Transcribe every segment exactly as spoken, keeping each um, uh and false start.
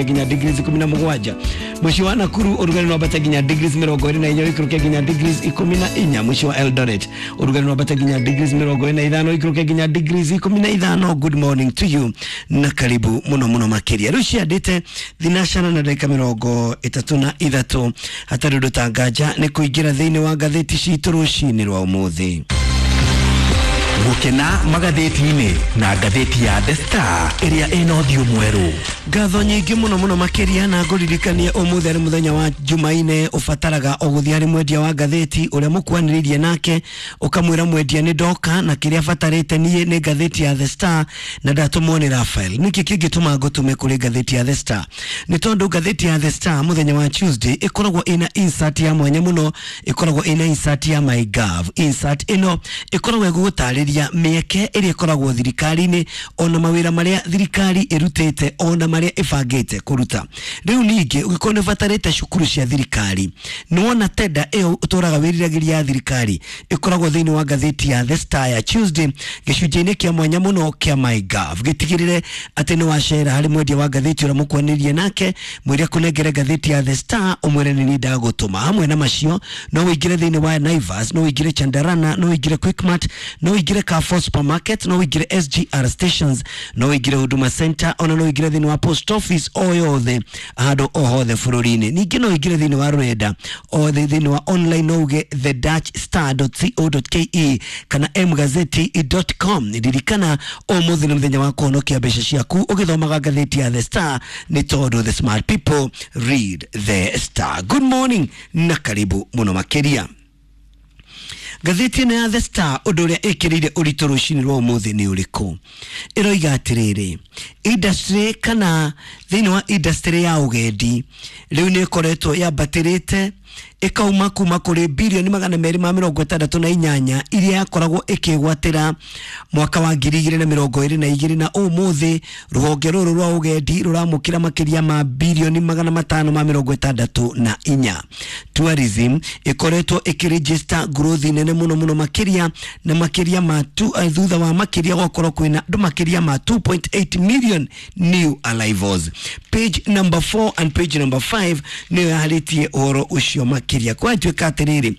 Nginya degrees ikumi na mugwanja. Muciĩ wa Nakuru ũrugarĩ no wambate nginya degrees mĩrongo ĩrĩ na inya, ũikũrũke nginya degrees ikũmi na inya. Muciĩ wa Eldoret ũrugarĩ no wambate nginya degrees mĩrongo ĩrĩ na ithano, ũikũrũke nginya degrees ikũmi na ithano. Good morning to you na karibu mũno mũno makĩria. Rĩu ciandĩte thinacana na ndagĩka mĩrongo ĩtatũ na ithatũ, hatarĩ ũndũ ta nganja nĩ kũingĩra thĩinĩ wa ngathĩti citũ rũcinĩ rwa ũmũthĩ. Gũkena magathĩti-inĩ na ngathĩti ya The Star ĩrĩa ĩna ũthiũ mwerũ. Ngatho nyingĩ mũno mũno makĩria, na ngũririkanie ũmũthĩ arĩ mũthenya wa Jumaine, ũbataraga o gũthiĩ harĩ mwendia wa ngathĩti ũrĩa mũkwanĩrĩirie nake, ũkamwĩra mwendia nĩ ndoka na kĩrĩa batarĩte niĩ nĩ ngathĩti ya The Star na ndatũmwo nĩ Raphael. Nĩkĩ kĩngĩtũma ngũtũme kũrĩ ngathĩti ya The Star? Nĩ tondũ ngathĩti ya The Star mũthenya wa Tuesday ĩkoragwo ĩna insert ya mwanya mũno, ĩkoragwo ĩna insert ya MyGov. Insert ĩno ĩkoragwo ĩgũgũtarĩria mĩeke ĩrĩa ĩkoragwo thirikari-inĩ, ona mawĩra marĩa thirikari ĩrutĩte, ona marĩa ĩbangĩte kũruta. Rĩu ningĩ ũngĩkorwo nĩ ũbatarĩte cukuru cia thirikari, nĩwona tenda ĩyo ũtũraga wĩriragĩria ya thirikari ĩkoragwo thĩinĩ wa ngathĩti ya The Star ya Tuesday, gĩcunjĩ-inĩ kĩa mwanya mũno kĩa MyGov. Gĩtigĩrĩre atĩ nĩ wacera harĩ mwendia wa ngathĩti ũrĩa mũkwanĩrie nake, mwĩre kũnengere ngathĩti ya The Star, ũmwĩre nĩ niĩ ndagũtũma. Hamwe na macio no ũingĩre thĩinĩ wa Naivas, no ũingĩre Chandarana, no ũingĩre Quickmart, no ũingĩre Carrefour Supermarket, no ũingĩre S G R stations, no ũingĩre Huduma Center, ona no ũingĩre thĩinĩ wa post office o yothe handũ o hothe bũrũri-inĩ. Ningĩ no ũingĩre thĩinĩ wa rũrenda o thĩinĩ wa online, no uge the dash star dot co dot ke kana mgazeti dot com. Ririkana ũmũthĩ nĩ mũthenya wa kũhonokia mbeca ciaku ũgĩthomaga ngathĩti ya The Star, nĩ tondũ the smart people read The Star. Good morning na karibu mũno makĩria. Ngathĩti ĩno ya The Star, ũndũ ũrĩa ĩkĩrĩire ũritũ rũcinĩ rwa ũmũthĩ nĩ ũrĩkũ? Ĩroiga atĩrĩrĩ, industry kana thĩinĩ wa industry ya ũgendi rĩu nĩ ĩkoretwo yambatĩrĩte, ĩkauma kuma kũrĩ birioni magana merĩ ma mĩrongo ĩtandatũ na inyanya iria yakoragwo ĩkĩgwatĩra mwaka wa ngiri igĩrĩ na mĩrongo ĩrĩ na igĩrĩ, na ũmũthĩ rũhonge rũrũ rwa ũgendi rũramũkĩra makĩria ma birioni magana matano ma mĩrongo ĩtandatũ na inya. Tourism ĩkoretwo ĩkĩregister growth nene mũno mũno makĩria, na makĩria ma tu, uh, thutha wa makĩria gwakorwo kwĩna andũ makĩria ma two point eight million new arrivals. Page number four and page number five nĩyo yarĩtie ũhoro ũcio makĩria. Kwatuĩka atĩrĩrĩ,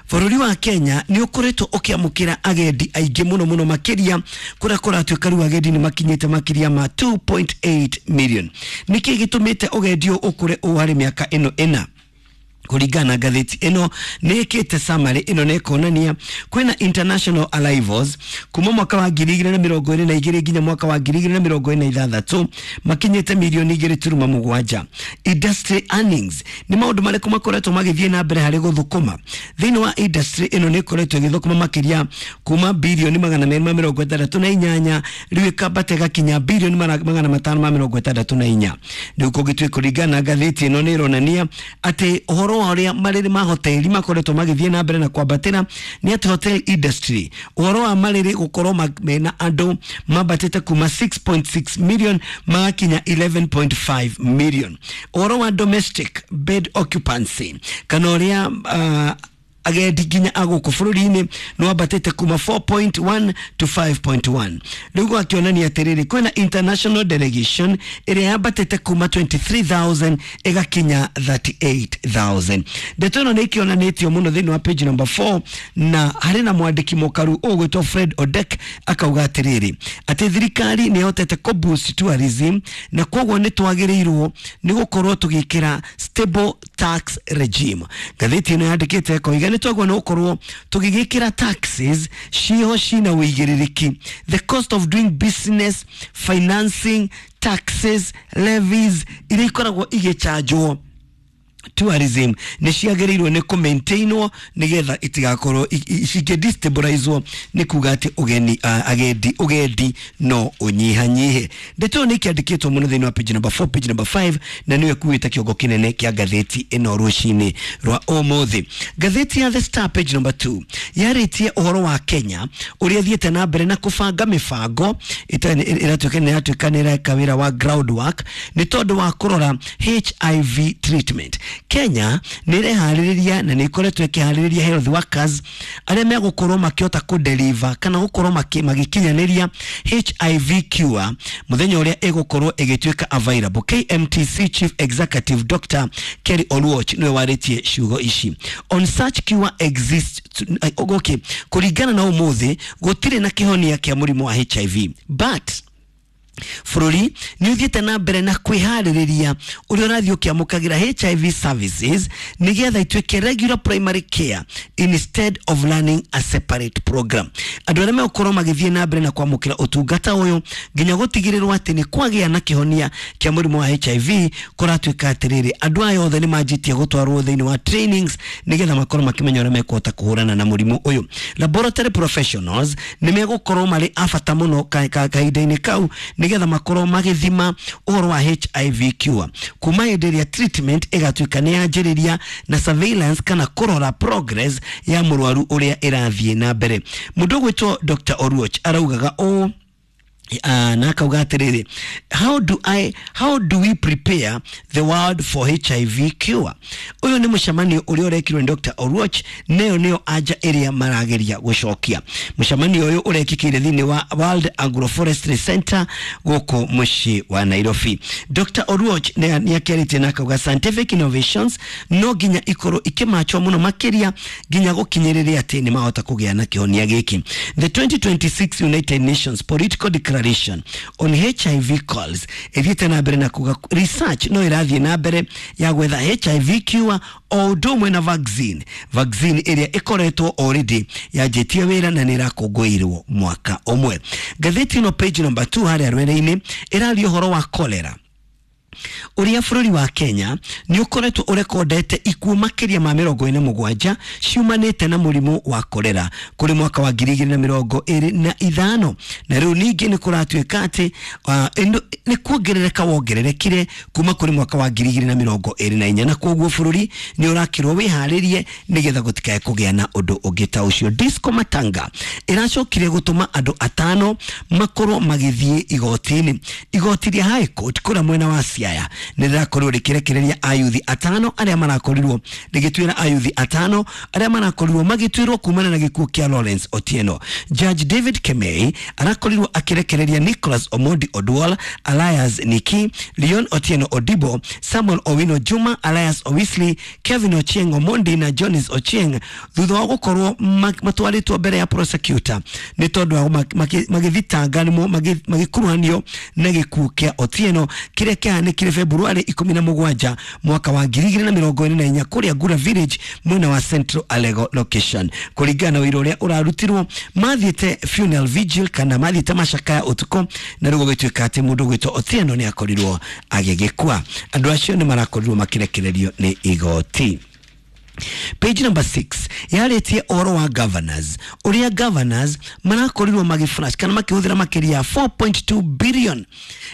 bũrũri wa Kenya nĩ ũkoretwo ũkĩamũkĩra agendi aingĩ mũno mũno makĩria, kũrĩa kũratuĩka rĩu agendi nĩ makinyĩte makĩria ma two point eight million. Nĩkĩ gĩtũmĩte ũgendi ũyũ ũkũre ũũ harĩ mĩaka ĩno ĩna? Kũringana na ngathĩti ĩno, nĩ ĩkĩte summary ĩno na ĩkonania kwĩna international arrivals kuma mwaka wa ngiri igĩrĩ na mĩrongo ĩrĩ na igĩrĩ nginya mwaka wa ngiri igĩrĩ na mĩrongo ĩrĩ na ithathatũ makinyĩte mirioni igĩrĩ turuma mũgwanja. Industry earnings, nĩ maũndũ marĩkũ makoretwo magĩthiĩ na mbere harĩ gũthũkũma thĩinĩ wa industry ĩno? Nĩ ĩkoretwo ĩgĩthũkũma makĩria kuma birioni magana merĩ ma mĩrongo ĩtandatũ na inyanya, rĩu ĩkambata ĩgakinya birioni magana matano ma mĩrongo ĩtandatũ na inya. Rĩu kũngĩtuĩka kũringana na ngathĩti ĩno, nĩ ĩronania atĩ ũhoro wa ũrĩa marĩrĩ ma hoteli makoretwo magĩthiĩ na mbere na kwambatĩra nĩ atĩ hotel industry, ũhoro wa marĩrĩ gũkorwo mena andũ mambatĩte kuma six point six million magakinya eleven point five million. Ũhoro wa domestic bed occupancy, kana ũrĩa uh, agendi nginya a gũkũ bũrũri-inĩ, nĩ wambatĩte kuma four point one to five point one. Rĩu gwakĩonania atĩrĩrĩ, kwĩna international delegation ĩrĩa yambatĩte kuma twenty-three thousand ĩgakinya thirty-eight thousand. Ndeto ĩno nĩ ĩkĩonanĩtio mũno thĩinĩ wa page number four, na harĩ na mwandĩki mũkaru ũgwĩtwo Fred Odek, akauga atĩrĩrĩ, atĩ thirikari nĩ ĩhotete kũ boost tourism, na koguo nĩ twagĩrĩirwo nĩ gũkorwo tũgĩkĩra stable tax regime. Ngathĩti ĩno yandĩkĩte ĩkoiga nĩ twagĩrĩirwo nĩ gũkorwo tũgĩgĩkĩra taxes ciho cina ũigĩrĩrĩki. The cost of doing business, financing, taxes, levies iria ikoragwo igĩchanjwo tourism nĩ ciagĩrĩirwo nĩ kũmaintainwo nĩgetha itigakorwo cingĩ nĩ kuga atĩ ũgeni uh, agendi ũgendi no ũnyihanyihe. Ndeto ĩyo nĩ ĩkĩandĩkĩtwo mũno thĩinĩ wa page number four, page number five, na nĩyo ĩkuĩte kĩongo kĩnene kĩa ngathĩti ĩno rũcinĩ rwa ũmũthĩ. Ngathĩti ya The Star page number two yarĩtie ũhoro wa Kenya ũrĩa thiĩte na mbere na kũbanga mĩbango ĩratuĩka nĩ ĩratuĩka nĩ ĩreka wĩra wa groundwork nĩ tondũ wa kũrora H I V treatment. Kenya nĩ ĩreharĩrĩria na nĩ ĩkoretwo ĩkĩharĩrĩria health workers arĩa megũkorwo makĩhota kũdeliver kana gũkorwo magĩkinyanĩria H I V cure mũthenya ũrĩa ĩgũkorwo ĩgĩtuĩka available. K M T C Chief Executive Doctor Kerry Oluoch nĩwe warĩtie ciugo ici. On such cure exists, okay, kũringana na ũmũthĩ gũtirĩ na kĩhonia kĩa mũrimũ wa H I V, but bũrũri nĩ ũthiĩte na mbere na kwĩharĩrĩria ũrĩa ũrathiĩ ũkĩamũkagĩra H I V services nĩgetha ituĩke regular primary care instead of running a separate program. Andũ arĩa megũkorwo magĩthiĩ na mbere na kwamũkĩra ũtungata ũyũ nginya gũtigĩrĩrwo atĩ nĩ kwagĩa na kĩhonia kĩa mũrimũ wa H I V kũratuĩka atĩrĩrĩ andũ aya othe nĩ manjĩtie gũtwarwo thĩinĩ wa trainings nĩgetha makorwo makĩmenya ũrĩa mekũhota kũhũrana na mũrimũ ũyũ. Laboratory professionals nĩ megũkorwo marĩ a bata mũno kahinda-inĩ kau nĩgetha makorwo magĩthima ũhoro wa H I V cure kuma hĩndĩ ĩrĩa treatment ĩgatuĩka nĩ yanjĩrĩria na surveillance kana kũrora progress ya mũrwaru ũrĩa ĩrathiĩ na mbere. Mũndũ ũgwĩtwo Doctor Oluoch araugaga ũũ Uh, na akauga atĩrĩrĩ, how do I how do we prepare the world for H I V cure? Ũyũ nĩ mũcemanio ũrĩa ũrekirwo nĩ Doctor Oluoch, neyo nĩyo anja ĩrĩa marageria gũcokia. Mũcemanio ũyũ ũrekĩkĩire thĩinĩ wa World Agroforestry Center gũkũ mũciĩ wa Nairobi. Doctor Oluoch nĩ akĩarĩtie na akauga scientific innovations no nginya ikorwo ikĩmachwo mũno makĩria nginya gũkinyĩrĩria atĩ nĩ mahota kũgĩa na kĩhonia gĩkĩ. The twenty twenty-six United Nations Political Declaration on H I V calls ĩthiĩte na mbere na kuga research no ĩrathiĩ na mbere ya gwetha H I V cure o ũndũ ũmwe na vaccine vaccine ĩrĩa ĩkoretwo already yanjĩtie wĩra na nĩ ĩrakũngũĩrwo mwaka ũmwe. Ngathĩti ĩno page number two harĩa rwere-inĩ ĩraria ũhoro wa cholera ũrĩa bũrũri wa Kenya nĩ ũkoretwo ũrekondete ikuũ makĩria ma mĩrongo ĩna mũgwanja ciumanĩte na mũrimũ wa kolera kũrĩ mwaka wa ngiri igĩrĩ na mĩrongo ĩrĩ na ithano, na rĩu ningĩ nĩ kũratuĩka atĩ nĩ kuongerereka wongererekire kuma kũrĩ mwaka wa ngiri igĩrĩ na mĩrongo ĩrĩ na inya, na kwoguo bũrũri nĩ ũrakĩrwo wĩharĩrie nĩgetha gũtikae kũgĩa na ũndũ ũngĩ ta ũcio. Disco Matanga ĩracokire gũtũma andũ atano makorwo magĩthiĩ igoti-inĩ. Igoti rĩa High Court kũrĩa mwena wa Siaya nĩ rĩrakorirwo rĩkĩrekereria ayuthi atano arĩa marakorirwo rĩgĩtuĩra ayuthi atano arĩa marakorirwo magĩtuĩrwo kumana na gĩkuũ kĩa Lawrence Otieno. Judge David Kemei arakorirwo akĩrekereria Nicholas Omondi Odwal, Elias Niki, Leon Otieno Odibo, Samuel Owino Juma, Elias Owisli, Kevin Ochieng Omondi na Jonis Ochieng thutha wa gũkorwo matwarĩtwo mbere ya prosecutor nĩ tondũ wa magĩthitanga magĩkuruhanio na gĩkuũ kĩa Otieno kĩrĩa kĩahanĩkire Februari ikũmi na mũgwanja mwaka wa ngiri igĩrĩ na mĩrongo ĩrĩ na inya kũrĩa Ngura Village mwena wa Central Alego location. Kũringana na ũira ũrĩa ũrarutirwo mathiĩte funeral vigil kana mathiĩte macakaya ũtukũ, na rĩu gũgĩtuĩka atĩ mũndũ ũgwĩtwo Otieno nĩ akorirwo agĩgĩkua. Andũ acio nĩ marakorirwo makĩrekererio nĩ igoti. Page number six yarĩtie ũhoro wa governors ũrĩa governors marakorirwo magĩflash kana makĩhũthĩra makĩria ya four point two billion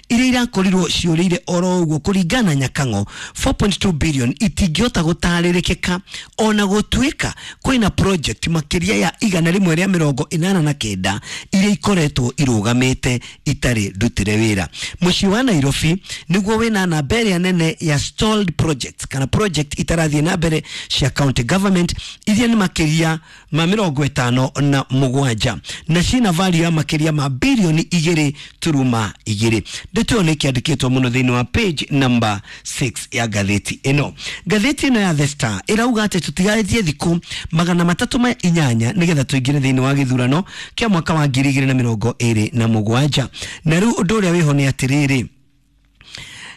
iria irakorirwo ciũrĩire oro ũguo. Kũringana Nyakang'o, four point two billion itingĩhota gũtarĩrĩkĩka ona gũtuĩka kwĩna project makĩria ya igana rĩmwe rĩa mĩrongo ĩnana na kenda iria ikoretwo irũgamĩte itarĩ ndutĩre wĩra. Mũciĩ wa Nairobi nĩguo wĩna namba ĩrĩa nene ya stalled projects kana project itarathiĩ na mbere cia county government iria nĩ makĩria ma mĩrongo ĩtano na mũgwanja na cina value ya makĩria ma bilioni igĩrĩ turuma igĩrĩ. Ndeto ĩyo nĩ ĩkĩandĩkĩtwo mũno thĩinĩ wa page number six ya ngathĩti ĩno. Ngathĩti ĩno ya The Star ĩrauga atĩ tũtigarĩtie thikũ magana matatũ ma inyanya nĩgetha tũingĩre thĩinĩ wa gĩthurano kĩa mwaka wa ngiri igĩrĩ na mĩrongo ĩrĩ na mũgwanja, na rĩu ũndũ ũrĩa wĩho nĩ atĩrĩrĩ,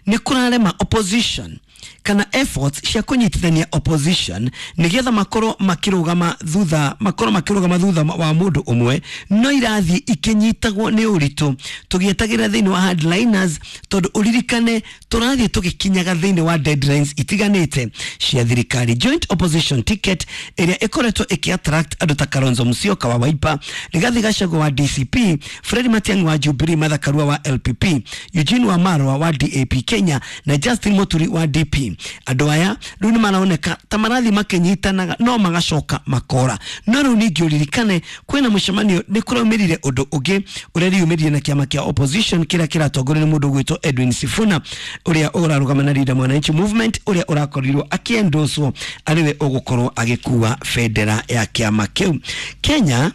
nĩ kũrarema opposition kana efforts cia kũnyitithania opposition nĩgetha makorwo makĩrũgama thutha makorwo makĩrũgama thutha wa mũndũ ũmwe, no irathiĩ ikĩnyitagwo nĩ ũritũ tũgĩetagĩrĩra thĩinĩ wa hardliners, tondũ ũririkane tũrathiĩ tũgĩkinyaga thĩinĩ wa deadlines itiganĩte cia thirikari. Joint opposition ticket ĩrĩa ĩkoretwo ĩkĩ-attract andũ ta Kalonzo Musyoka wa Wiper, Rigathi Gachagua wa D C P, Fred Matiang'i wa Jubilee, Martha Karua wa L P P, Eugene Wamalwa wa D A P Kenya na Justin Muturi wa D D P. Andũ aya rĩu nĩ maroneka ta marathi makĩnyitanaga no magacoka makora. No rĩu ningĩ ũririkane kwĩna mũcemanio, nĩ kũraumĩrire ũndũ ũngĩ ũrĩa riumĩrire na kĩama kĩa opposition kĩrĩa kĩratongorio nĩ mũndũ ũgwĩtwo Edwin Sifuna, ũrĩa ũrarũgama na Linda Mwananchi Movement, ũrĩa ũrakorirwo akĩendoswo arĩwe ũgũkorwo agĩkua bendera ya kĩama kĩu. Kenya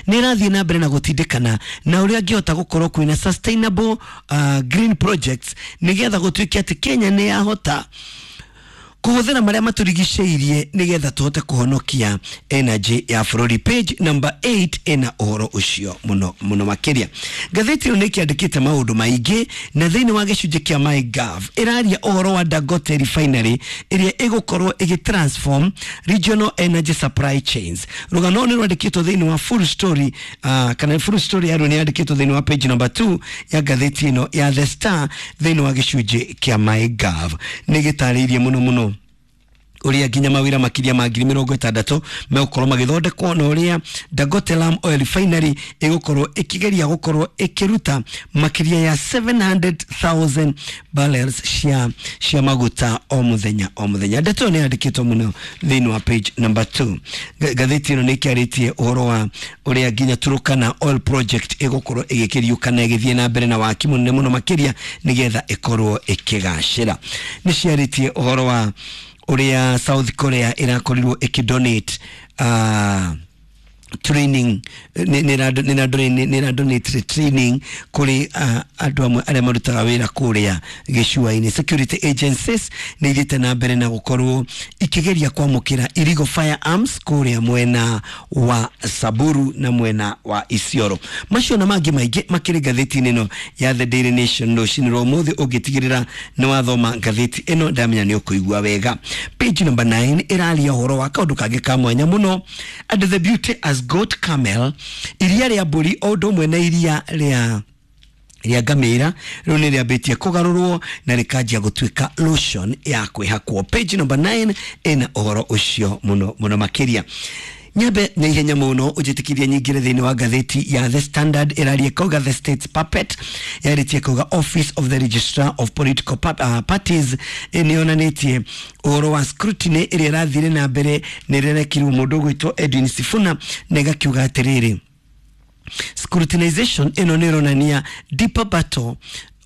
nä ĩrathiĩ na mbere na gũtindĩkana na ũrĩa angĩhota gũkorwo kwĩna sustainable uh, green projects, nĩgetha gũtuĩke atĩ Kenya nĩ yahota kũhũthĩra marĩa matũrigicĩirie nĩgetha tũhote kũhonokia energy ya bũrũri. Page number eight ĩna ũhoro ũcio mũno mũno makĩria. Ngathĩti ĩno nĩ ĩkĩandĩkĩte maũndũ maingĩ, na thĩinĩ wa gĩcunjĩ kĩa MyGov ĩraria ũhoro wa Dangote Refinery ĩrĩa ĩgũkorwo ĩgĩ regional energy supply chains. Rũgano nĩ rwandĩkĩtwo thĩinĩ wa full story, uh, kana full story yaruo nĩ yandĩkĩtwo thĩinĩ wa page number two ya ngathĩti ĩno ya The Star. Thĩinĩ wa gĩcunjĩ kĩa MyGov nĩ gĩtarĩirie mũno mũno ũrĩa nginya mawĩra makĩria ma ngiri mĩrongo ĩtandatũ megũkorwo magĩthondekwo, na ũrĩa Dangote Lam Oil Refinery ĩgũkorwo ĩkĩgeria gũkorwo ĩkĩruta makĩria ya seven hundred thousand barrels cia cia maguta o mũthenya o mũthenya. Ndeto ĩyo nĩ yandĩkĩtwo mũno thĩinĩ wa page number two. Ngathĩti ĩno nĩ ĩkĩarĩtie ũhoro wa ũrĩa nginya Turkana Oil Project ĩgũkorwo ĩgĩkĩriũka na ĩgĩthiĩ na mbere na waki mũnene mũno makĩria nĩgetha ĩkorwo ĩkĩgacĩra. Nĩ ciarĩtie ũhoro wa ũrĩa South Korea ĩrakorirwo ĩkĩdonate uh, training, nĩ donate training kũrĩ uh, andũ amwe arĩa marutaga wĩra kũrĩa gĩcũa-inĩ. Security agencies nĩ ithiĩte na mbere na gũkorwo ikĩgeria kwamũkĩra illegal firearms kũrĩa mwena wa Samburu na mwena wa Isiolo. Macio na mangĩ maingĩ makĩrĩ ngathĩti-inĩ ĩno ya The Daily Nation rũcinĩ rwa ũmũthĩ. Ũngĩtigĩrĩra nĩ wathoma ngathĩti ĩno, ndamenya nĩ ũkũigua wega. Page number nine ĩraria ũhoro wa kaũndũ kangĩ ka mwanya mũno, and the beauty as goat camel, iria rĩa mbũri o ũndũ ũmwe na iria rĩa rĩa ngamĩra rĩu nĩ rĩambĩtie kũgarũrwo na rĩkanjia gũtuĩka lotion ya kwĩhakwo. Page number nine ĩna ũhoro ũcio mũno mũno makĩria. Nyambe na ihenya mũno ũnjĩtĩkĩrie nyingĩre thĩinĩ wa ngathĩti ya The Standard. Ĩraria kauga "The State's Puppet". Yarĩtie kauga Office of the Registrar of Political pa uh, Parties nĩ yonanĩtie ũhoro wa scrutiny ĩrĩa ĩrathire na mbere na ĩrerekirwo mũndũ ũgwĩtwo Edwin Sifuna, na ĩgakiuga atĩrĩrĩ, scrutinization ĩno nĩ ĩronania deeper battle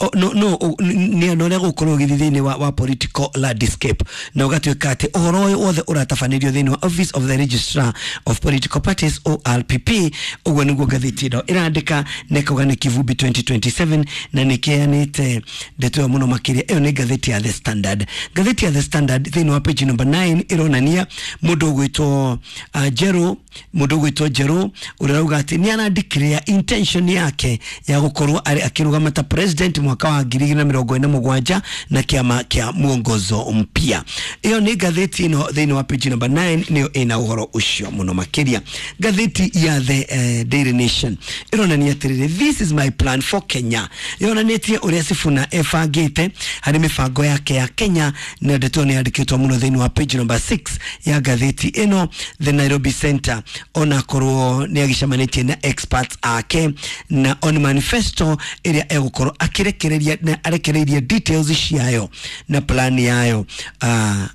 o, no no nĩ na ũrĩa gũkorwo ũgĩthiĩ thĩinĩ wa, wa political landscape, na ũgatuĩka atĩ ũhoro ũyũ wothe ũratabanĩrio thĩinĩ wa Office of the Registrar of Political Parties, O R P P. Ũguo nĩguo ngathĩti ĩno ĩrandĩka na ĩkauga nĩ kivumbi twenty twenty-seven, na nĩ kĩheanĩte ndeto ĩyo mũno makĩria. Ĩyo nĩ ngathĩti ya The Standard. Ngathĩti ya The Standard thĩinĩ wa page number nine ĩronania mũndũ ũgwĩtwo uh, Jero mũndũ ũgwĩtwo Jero ũrĩa ũrauga atĩ nĩ arandikĩrĩa intention yake ya gũkorwo arĩ akĩrũgama ta president mwaka wa ngiri igĩrĩ na mĩrongo ĩna mũgwanja na kĩama kĩa Mwongozo Mpya. Ĩyo nĩ ngathĩti ĩno thĩinĩ wa page number nine, nĩyo ĩna ũhoro ũcio mũno makĩria. Ngathĩti ya The uh, Daily Nation ĩronania atĩrĩrĩ, "This is my plan for Kenya". Yonanĩtie ũrĩa Sifuna ebangĩte harĩ mĩbango yake ya Kenya, na ndeto nĩ yandĩkĩtwo mũno thĩinĩ wa page number six ya ngathĩti ĩno. The Nairobi Center, onakorwo nĩ agĩcemanĩtie na experts ake na on manifesto ĩrĩa egũkorwo akĩrekereria na arekereirie details ciayo na plan yayo uh,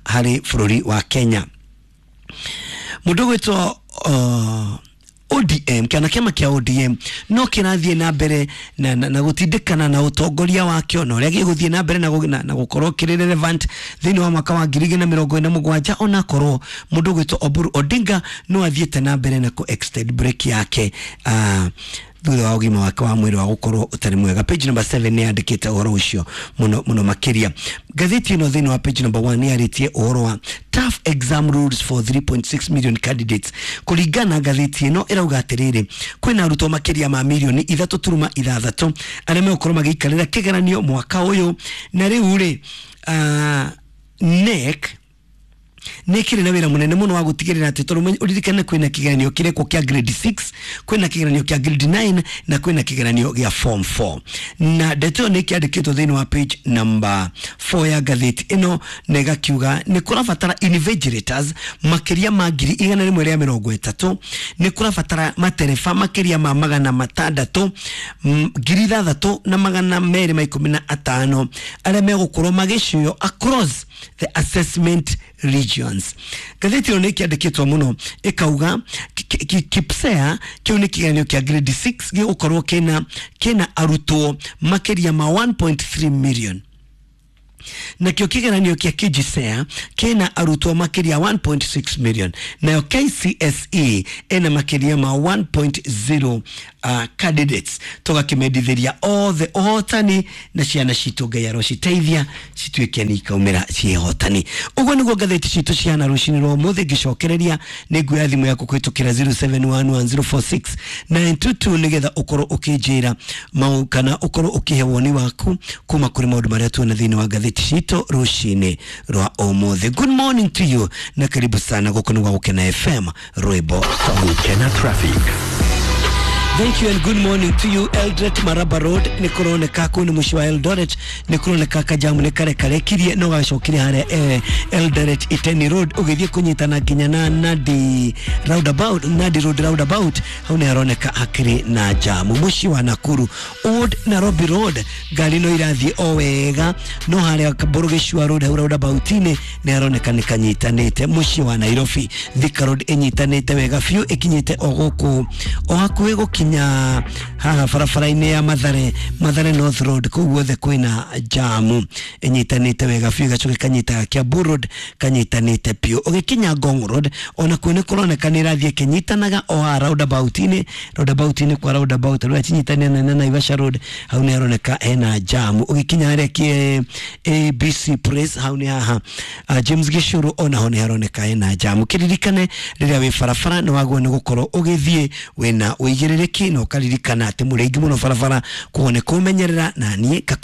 harĩ bũrũri wa Kenya. Mũndũ ũgwĩtwo uh, O D M kana kĩama kĩa O D M no kĩrathiĩ na mbere na, na, na gũtindĩkana na ũtongoria wakĩo na ũrĩa gĩgũthiĩ na mbere na, gũ- na, na gũkorwo kĩrĩ relevant thĩinĩ wa mwaka wa ngiri igĩrĩ na mĩrongo ĩna mũgwanja, onakorwo mũndũ ũgwĩtwo Oburu Odinga no athiĩte na mbere na kũ extend break yake uh, thutha wa ũgima wake wa mwĩrĩ wa gũkorwo ũtarĩ mwega. Page number seven nĩ yandĩkĩte ũhoro ũcio mũno mũno makĩria. Ngathĩti ĩno thĩinĩ wa page number one nĩ yarĩtie ũhoro wa tough exam rules for three point six million candidates. Kũringana na ngathĩti ĩno, ĩrauga atĩrĩrĩ, kwĩna arutwo makĩria ma mirioni ithatũ turuma ithathatũ arĩa megũkorwo magĩikarĩra kĩgeranio mwaka ũyũ, na rĩu rĩ uh, K N E C Nä kä rä na wä ra må nene må no wa gå tigä rä ra atä tondå å ririkane kwä na kä geranio kä rekwo kä a grade six, kwä na kä geranio kä a grade nine na kwä na kä geranio gä a form four. Na ndeto ä yo nä kä andä kä two thä inä wa page number four ya ngathĩti ĩno, na ĩgakiuga nĩ kũrabatara invigilators makĩria ma ngiri igana rĩmwe rĩa mĩrongo ĩtatũ, nĩ kũrabatara matereba makĩria ma magana matandatũ, mm, ngiri ithathatũ na magana merĩ ma ikũmi na atano arĩa megũkorwo magĩcuo across the assessment regions. Ngathĩti ĩno nĩ ĩkĩandĩkĩtwo mũno ĩkauga ki- ki- KPSEA kĩu nĩ kĩgeranio kĩa grade six gĩgũkorwo kĩna kĩna arutwo makĩria ma one point three million, nakĩo kĩgeranio kĩa K G S E A kĩna arutwo makĩria one point six million, nayo K C S E ĩna makĩria ma one point zero uh, candidates. Tũgakĩmendithĩria othe ũhotani na ciana citũ Ngai arociteithia cituĩke nĩ ikaumĩra ciĩhotani. Ũguo nĩguo ngathĩti citũ cihana rũcinĩ rwa ũmũthĩ. Ngĩcokereria nĩ nguoya thimũ yaku kũhĩtũkĩra zero seven one one zero four six nine two two nĩgetha ũkorwo ũkĩnjĩra mau kana ũkorwo ũkĩhe woni waku kuma kũrĩ maũndũ marĩa tuona thĩinĩ wa ngathĩti citũ rũcinĩ rwa ũmũthĩ. Good morning to you na karibu sana gũkũ nĩ gwa Gũkena F M, rwĩmbo Gũkena Traffic. Thank you and good morning to you. Eldoret Maraba Road nĩ kũroneka kũu nĩ mũciĩ wa Eldoret, nĩ kũroneka kajamu nĩ karekarekirie no gacokire harĩa eh, Eldoret Iteni Road ũgĩthiĩ kũnyitana nginya na Nandi roundabout, Nandi Road roundabout, hau nĩ haroneka hakĩrĩ na jamu. Mũciĩ wa Nakuru Old Nairobi Road ngari no irathiĩ o wega, no harĩa Mbũrũgĩcua Road hau roundabout-inĩ nĩ haroneka nĩ kanyitanĩte. Mũciĩ wa Nairobi Thika Road ĩnyitanĩte wega biũ, ĩkinyĩte o gũkũ o hakuhĩ gũkinya haha barabara-inĩ ya Mathare, Mathare North Road, kũu guothe kwĩna jamu ĩnyitanĩte wega biũ, ĩgacoka ĩkanyita Kiambu Road kanyitanĩte biũ. Ũgĩkinya Ngong Road ona kuo nĩ kũroneka nĩ ĩrathiĩ ĩkĩnyitanaga o haha roundabout-inĩ, roundabout-inĩ kwa roundabout rũrĩa cinyitanĩte na Naivasha Road, hau nĩ haroneka hena jamu. Ũgĩkinya harĩa kĩ A B C Place, hau nĩ haha uh, James Gĩcũrũ, onaho nĩ haroneka hena jamu. Kĩririkane rĩrĩa wĩ barabara nĩ wagwo nĩ gũkorwo ũgĩthiĩ wĩna ũigĩrĩrĩki na ũkaririkana atĩ mũrĩ aingĩ mũno barabara, koguo nĩ kũmenyerera na niĩ ngakũmenyerera.